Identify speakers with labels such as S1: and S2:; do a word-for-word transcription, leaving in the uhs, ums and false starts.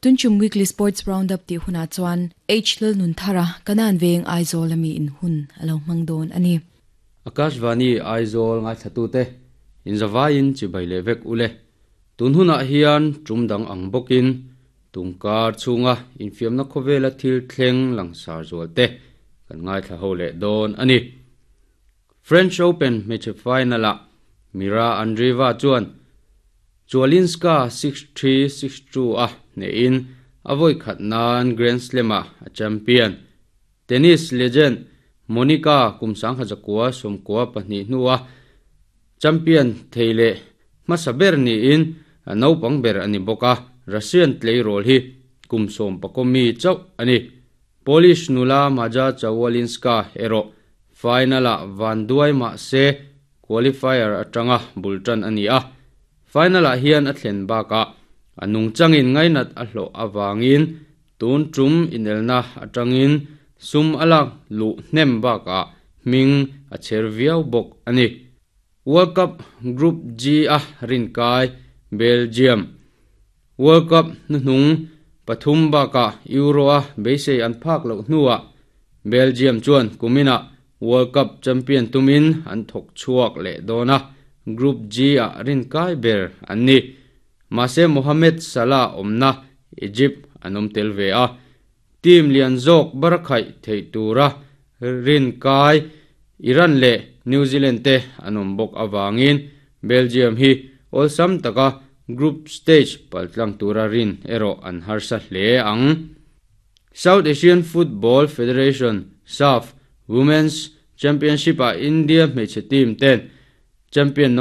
S1: Tunchum weekly sports roundup ti huna chuan H lal nun thara kanan veng Aizawl ami in hun alo mangdon ani.
S2: Akashvani Aizawl ngai thatu te in zawain chi baile vek ule tun huna hian tumdang ang bokin tungkar chunga infiamna khowela thil thleng langsar zual te kan ngai thla ho le don ani. French Open match final a Mira Andreeva chuan Chualinska six three six two a ne in avoi khatnan Grand Slam a champion. Tennis legend Monica kumsang hajakwa somkwa pahnih hnuwa champion theile masaber ni in naupang ber ani boka Russian play role hi kumsom pakomi chau ani. Polish nula Maja Chawalinska ero finala van duai ma se qualifier atanga bultan ani a. Finala hian a thlen baka anung changin ngainat a hlo awangin tun tum inelna atangin sum alak lu hnem baka ming a cherviau bok ani. World Cup Group G a rinkai Belgium World Cup nung pathum baka Euro a beisei an phak lo hnuwa Belgium chuan kumina World Cup champion tumin an thok chuak le dona Group G a rinkai ber anni. Mase Mohamed Salah omna Egypt anom telve a team lian zok barakhai theitura rinkai Iran le New Zealand te anom bok awangin Belgium hi olsam taka group stage paltlang tura rin ero an harsa hle ang. South Asian Football Federation S A F Women's Championship a India hmeichhe team ten champion no